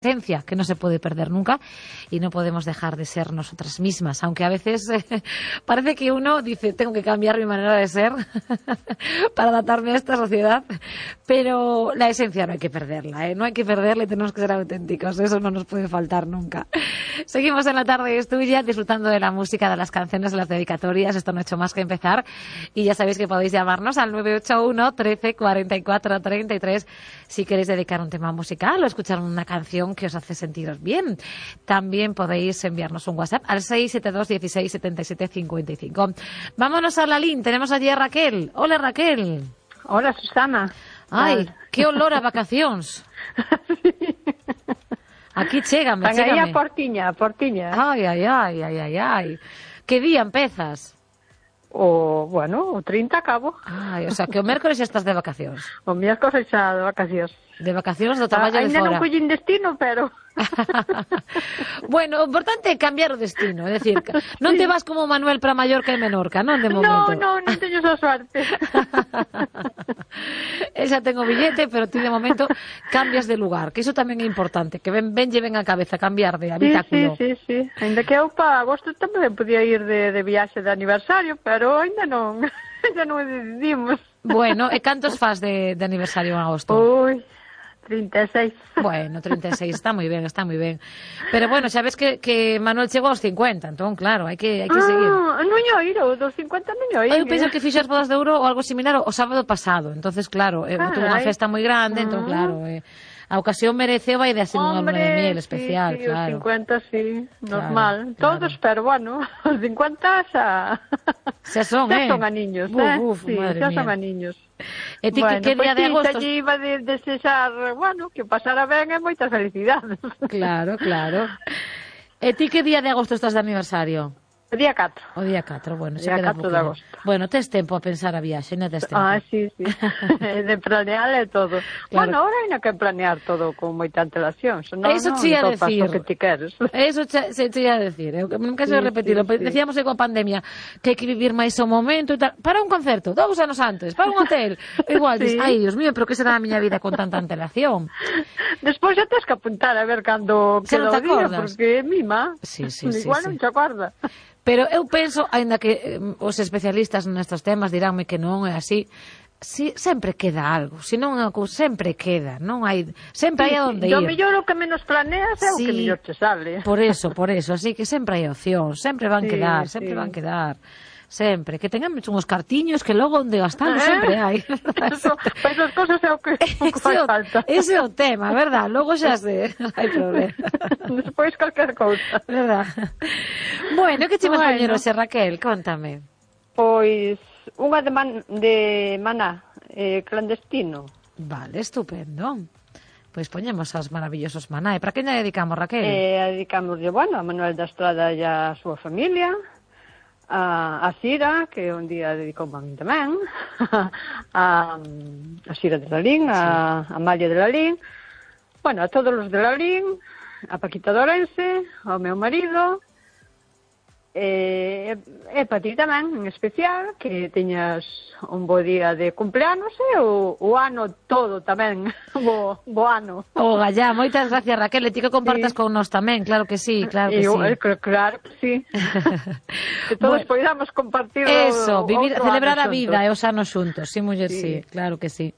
esencia que no se puede perder nunca y no podemos dejar de ser nosotras mismas, aunque a veces parece que uno dice tengo que cambiar mi manera de ser para adaptarme a esta sociedad, pero la esencia no hay que perderla, no hay que perderla y tenemos que ser auténticos, eso no nos puede faltar nunca. Seguimos en La Tarde es Tuya, disfrutando de la música, de las canciones, de las dedicatorias. Esto no ha hecho más que empezar y ya sabéis que podéis llamarnos al 981 13 44 33 si queréis dedicar un tema musical o escuchar una canción que os hace sentiros bien. También podéis enviarnos un WhatsApp al 672 16 77 55. Vámonos a la LIN, tenemos allí a Raquel. Hola, Raquel. Hola, Susana. Ai, que olor a vacacións. Sí. Aquí chégame. Están aí a portiña. Ai. Que día empezas? O 30 acabo. Ai, o sea, que o mércoles xa estás de vacacións. O miércoles xa de vacacións. De vacacións do traballo de ainda fora. Non collín destino, pero... Bueno, o importante é cambiar o destino, é dicir, non te vas como Manuel para Mallorca e Menorca, non de momento. Non teño esa suerte. Esa tengo billete, pero ti de momento cambias de lugar, que iso tamén é importante, que ven a cabeza cambiar de habitáculo. Sí. Ainda que eu para agosto tamén podía ir de viaxe de aniversario, pero ainda non decidimos. Bueno, e cantos fas de aniversario en agosto? Ui, 36. Bueno, 36, está moi ben. Pero bueno, xa ves que Manuel chegou aos 50, entón claro, hai que seguir. Non oíro, dos 50 non oíro. Eu penso que fixo as bodas de ouro ou algo similar o sábado pasado, entonces claro, tuvo unha festa moi grande, entón claro, a ocasión mereceu vai de así unha luna de miel especial, sí, claro. Os 50 sí, normal. Claro. Todos, pero bueno, os 50 xa son, xa son aniños, sí, xa son aniños. E ti que día de agosto? Xa iba de desexar, que pasara ben e moitas felicidades. Claro. E ti que día de agosto estás de aniversario? O día 4. O día 4, bueno, se queda 4 de agosto. Bueno, tes tempo a pensar a viaxe, non tes tempo? Sí. De planear e todo. Claro. Bueno, ahora hai que planear todo con moita antelación. Eso te ia decir. Que ti queres. Eso se te ia decir. Eu nunca sei repetirlo. Decíamos coa pandemia que hai que vivir máis o momento e tal. Para un concerto, 2 anos antes, para un hotel. Igual, dices, ai, Dios mío, pero que será a miña vida con tanta antelación? Despois xa tens que apuntar a ver cando queda o día, porque mima. Sí. Igual non te acorda. Pero eu penso, aínda que os especialistas nestes temas diránme que non é así, sempre queda algo, senón sempre queda, non hai, sempre hai a onde ir. O mellor o que menos planeas é o que mellor te sale. Por eso, así que sempre hai opción, sempre van quedar. Sempre, que tengamos unhos cartiños que logo onde gastamos sempre hai. Pois as cosas é o que fai falta. Ese é o tema, verdad? Logo xa sei, hai problema. Despois calquer cousa. Verdad? Bueno, que che vas poñer hoxe, Raquel? Contame. Pois unha de Maná, clandestino. Vale, estupendo. Pois poñemos aos maravillosos Maná. E para quen lle dedicamos, Raquel? Dedicamos, a Manuel da Estrada e a súa familia, a Sira, que un día dedicou a min tamén, a Sira de Lalín, a Amalia de Lalín, a todos os de Lalín, a Paquita de Ourense, ao meu marido, e para ti tamén, en especial, que teñas un bo día de cumpleanos e o ano todo tamén, bo ano. Gallá, moitas gracias, Raquel, e ti que compartas con nós tamén, claro que sí. Claro que sí. Que todos poidamos compartir celebrar a vida e os anos xuntos, sí, muller, sí, claro que sí.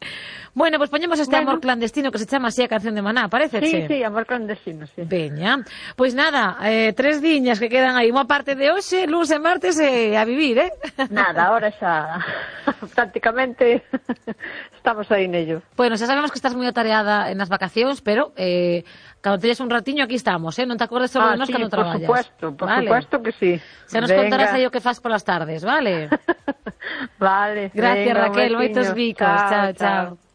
Bueno, pois poñemos este amor clandestino que se chama así a canción de Maná, paréceche? Sí, amor clandestino, sí. Veña, pois nada, 3 diñas que quedan aí, unha parte de hoxe, luns e martes a vivir, Nada, ahora xa prácticamente estamos aí nello. Bueno, xa sabemos que estás moi atareada nas vacacións, pero cando teñas un ratiño aquí estamos, non te acordes sobre nós cando traballas. Por supuesto que sí. Xa nos contarás aí o que faz polas tardes, vale? Vale. Gracias, Raquel, moitos bicos. Chao.